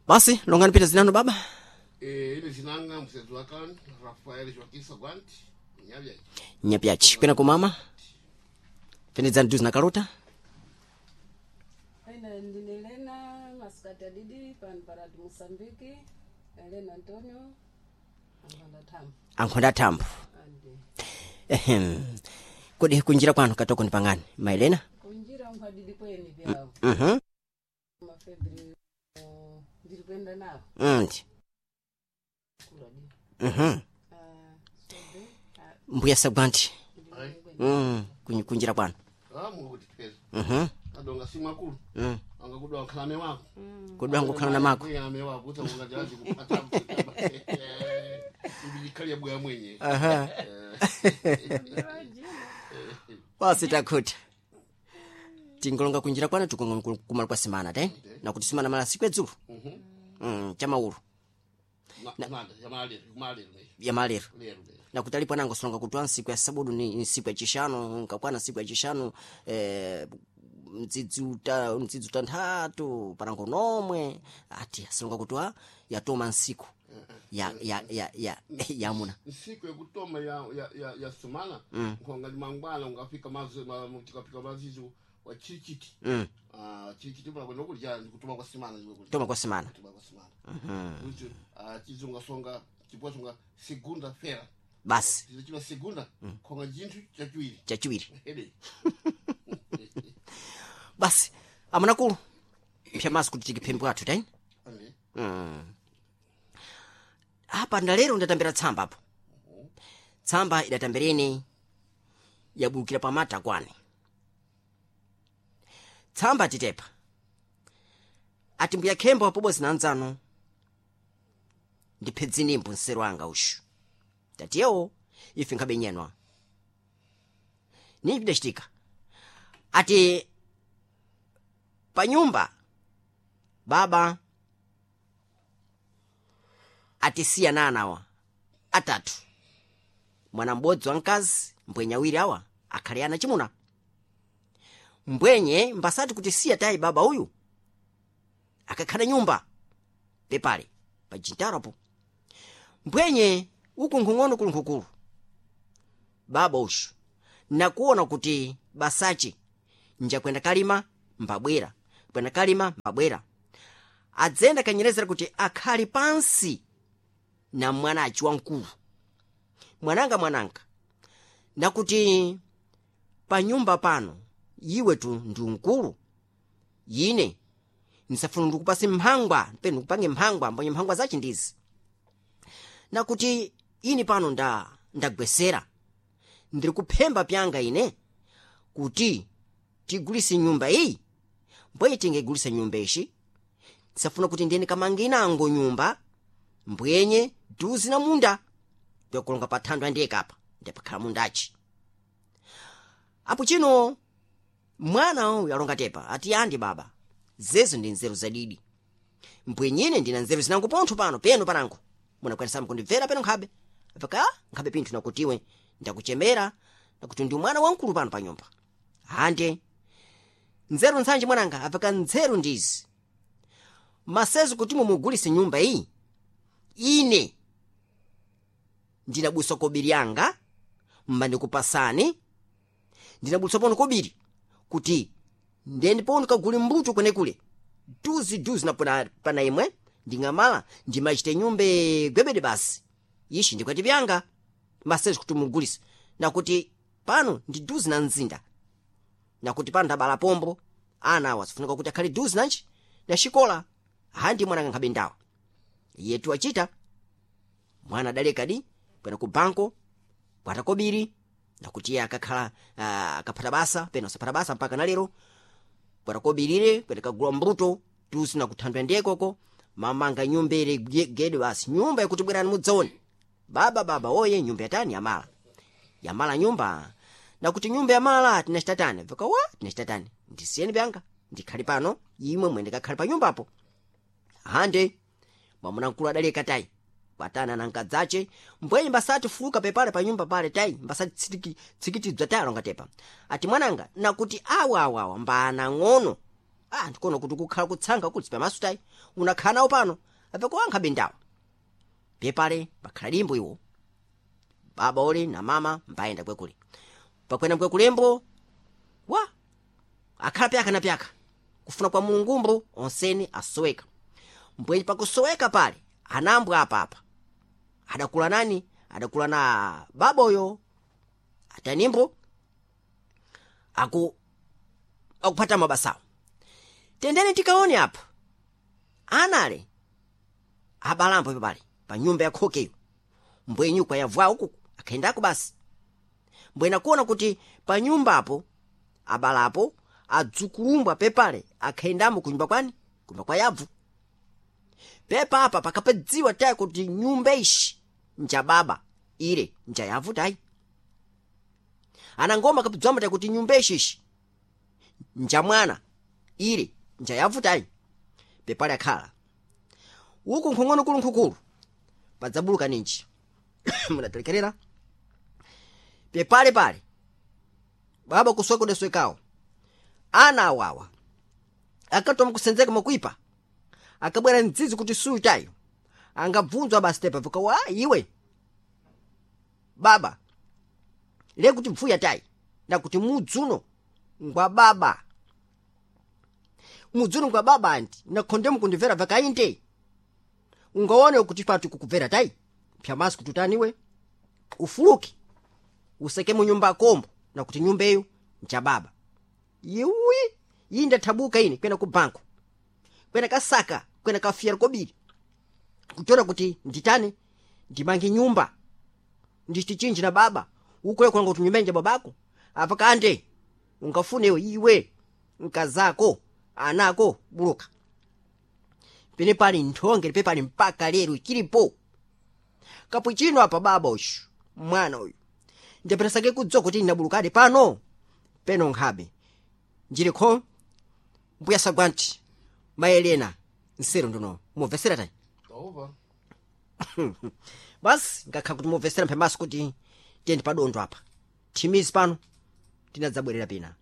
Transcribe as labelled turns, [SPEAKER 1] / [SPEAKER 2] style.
[SPEAKER 1] Basi longani pita zinano baba.
[SPEAKER 2] Ile zinanga msezi wakan Rafael Joaquim Sagwanti nyavya.
[SPEAKER 1] Nyapyachi kwena kumama penedzani duzi na kalota.
[SPEAKER 3] Ine ndine Elena Masikati Adidi pano paradi Moçambique, Elena Antonio Ankhonda Thambo.
[SPEAKER 1] Ankhonda Thambo.
[SPEAKER 3] Andi.
[SPEAKER 1] Ehem. Kodi kunjira kwanu katoko ni pangani maelena?
[SPEAKER 3] Kunjira nkhwadidi kweni vyawo. Mafebri ndiri kuenda nawo.
[SPEAKER 1] Ndi.
[SPEAKER 3] Kula di. Ah, sobe. Ah,
[SPEAKER 1] Mbuya Sagwanti.
[SPEAKER 2] Ai.
[SPEAKER 1] Kunjira kwanu.
[SPEAKER 2] Ah, mungu kuti pesa. Adonga simu akulu. Anga kudwa nkhalame wako.
[SPEAKER 1] Kudwa nkhala na mako.
[SPEAKER 2] Ame wako kuti ungajazi kupata. Ibijikali ya bwa mwenye.
[SPEAKER 1] Aha. Basi takhuta. Tingolonga kunjira kwanu tukonga kumala kwa simana te. Na kuti simana mala siku edzulu. Chamaulu.
[SPEAKER 2] Na nanda yamalero, yamalero.
[SPEAKER 1] Yamalero.
[SPEAKER 2] Lero.
[SPEAKER 1] Na kuti alipo anango solonga kuti nsiku ya sabudu ni nsiku ya chishanu nkakwana nsiku ya chishanu mdzidzi utanthatu panango nomwe ati asolonga kuti yatoma nsiku ya ya ya ya yamuna.
[SPEAKER 2] Nsiku yakutoma ya sumana nkhonga limangwana ungafika mazi tikafika mazizi wa chichiti. Ah, chichiti pala kwenda kulya ndikutoma kwa simana ndikwe kulya.
[SPEAKER 1] Toma kwa simana.
[SPEAKER 2] Kutoma kwa simana. Kuti chizunga songa chipwa songa segunda fera.
[SPEAKER 1] Basi.
[SPEAKER 2] Chichima segunda khonga chinthu chachiwiri.
[SPEAKER 1] Chachiwiri.
[SPEAKER 2] Ede.
[SPEAKER 1] Basi amunakulu pyamaso kuti tikiphembe athu taini.
[SPEAKER 2] Ande.
[SPEAKER 1] Apa ndalero ndatambira tsamba apo. Tsamba idatambereni yabukira pamata kwani. Tsamba titepa. Ati mbuya khembo apobozi na anzano ndiphedzinimbo nseru anga ushu. Tatiyewo ife nkhabe nyenwa. Nini pidachitika? Ati panyumba baba atisiya nana awa atatu, mwana m'bodzi wamkazi mbwenye awiri awa akhale ana chimuna. Mbwenye mbasati kuti siya tayi baba uyu akakhala nyumba pepale pa jintarapo. Mbwenye uku nkhung'ono kuli nkhukulu baba ushu nakuona kuti basachi njakwenda kalima mbabwera, kwenda kalima mbabwera, adzenda kanyerezera kuti akhali pansi na mwanachi wamkulu. Mwananga mwananga nakuti pa nyumba pano iwe tu ndi mkulu, ine nsafuna ndikupase mphangwa penu ndikupange mphangwa mbonye mphangwa zachi ndizi, nakuti ini pano ndagwesera ndiri kuphemba pyanga ine kuti tigulise nyumba iyi. Mbwenye tingegulise nyumba ishi nsafuna kuti ndiyeni kamange inango nyumba mbwenye duzi na munda byakulonga pa thandu andiyekapa ndipakhala mundachi. Apo chino mwana uyu alonga tepa ati andi baba zezo ndi nzeru zadidi, mbwenyine ndina nzeru zinango pontho pano peno panango munakwanisa kundibvera peno nkhabe apaka nkhabe pinthu nakutiwe ndakuchemera nakuti ndi mwana wamkulu pano pa nyumba. Ande nzeru ntsanje mwananga apaka nzeru ndizi masezo kuti mumugulise nyumba iyi ine ndinabusa kobiri yanga mbandikupasani, ndinabusa pono kobiri kuti ndeni pono kagule mbuto kwenekule duzi duzi na pana imwe ndingamala ndimachite nyumbe gwebede basi ishi ndikwati vyanga masezo kuti mugulise nakuti pano ndi duzi na mzinda nakuti pano ndabala pombo ana awa sifunika kuti akhale duzi nanji na xikola handi mwananga nkhabe ndawa yetu achita mwana adalekadi kwenda ku banko kwata kobiri nakuti iye akakhala akaphata basa pena usaphata basa mpaka nalero kwata kobirire kwenda kagula mbuto tusi nakuthandwa ndiye koko mamanga nyumba ile gede basi nyumba yakuti bwerani mudzaone baba baba oye nyumba yatani yamala yamala nyumba nakuti nyumba yamala tinachitatani vikawa tinachitatani ndisiyeni vyanga ndikhali pano imwe mwende kakhali pa nyumbapo. Hande mwamuna mkulu adaleka tayi kwatana na nkadzace mbwenye mbasati fuluka pepale pa nyumba pale tayi mbasati tsikitidzwa tayi alonga tepa ati mwananga nakuti awa awa awa mbana ng'ono Ah, ndikuona kuti kukhala kutsanga kuti pamaso tayi unakhala nawo pano apekuwankha bendawa. Pepale pakhala limbo iwo baba ole na mama mbayenda kwekule pakwena kwekulembo wa akhala pyaka na pyaka kufuna kwa mulungumbo onseni asoweka. Mbwenyi pakusoweka pale anambwa apapa adakula nani? Adakula na baboyo atanimbo akupata mabasawo. Tendeni tikaone apa anale abalambo pepale pa nyumba ya khokeyo mbwenyi kwa yavwawo kuku akhendako basi. Mbwena kuona kuti pa nyumbapo abalapo adzukulumbwa pepale akhendamo kunyumba kwani? Kunyumba kwa yabvu. Pepa apa pakapadziwa tayi kuti nyumba ishi nja baba ile nja yavu tayi. Anangoma kapidzwamba tayi kuti nyumba ishi ishi nja mwana ile nja yavu tayi. Pepale akhala uku nkhong'ono kulu nkhukulu padzabuluka ninji munatelekerera pepale pale baba kuswekodeswekawo ana awawa akatoma kusenzeka makuipa akabwera mdzizi kuti suyu tayo angabvunzwa basi tepa vikawa iwe baba le kuti bvuya tayi nakuti mudzuno ngwa baba mudzuno ngwa baba anti nakhonde mukundimvera vakainde ungaone kuti patu kukubvera tayi pyamasi kuti utaniwe ufuluke useke mu nyumba kombo nakuti nyumba eyo nja baba. Iwi iyi ndathabuka ine kwena ku banko kwena kasaka kwena kafiyera kobiri kuchora kuti nditane ndimange nyumba ndichichinji na baba ukoyo kulanga kuti nyumba nja babako apa kande ungafunewe iwe nkazako anako buluka pene pali nthonge lipe pali mpaka lero chilipo kapu chino apa baba uyu mwana uyu ndapesake kudziwa kuti ndinabulukadi pano peno nkhabe njilikho mbuya sagwanti maelena nsero ndono mumvesera tayi
[SPEAKER 2] Tauva.
[SPEAKER 1] Basi ngakhala kuti mumvesera mphemaso kuti tiyendi padondo apa thimizi pano tinadzabwerera pina.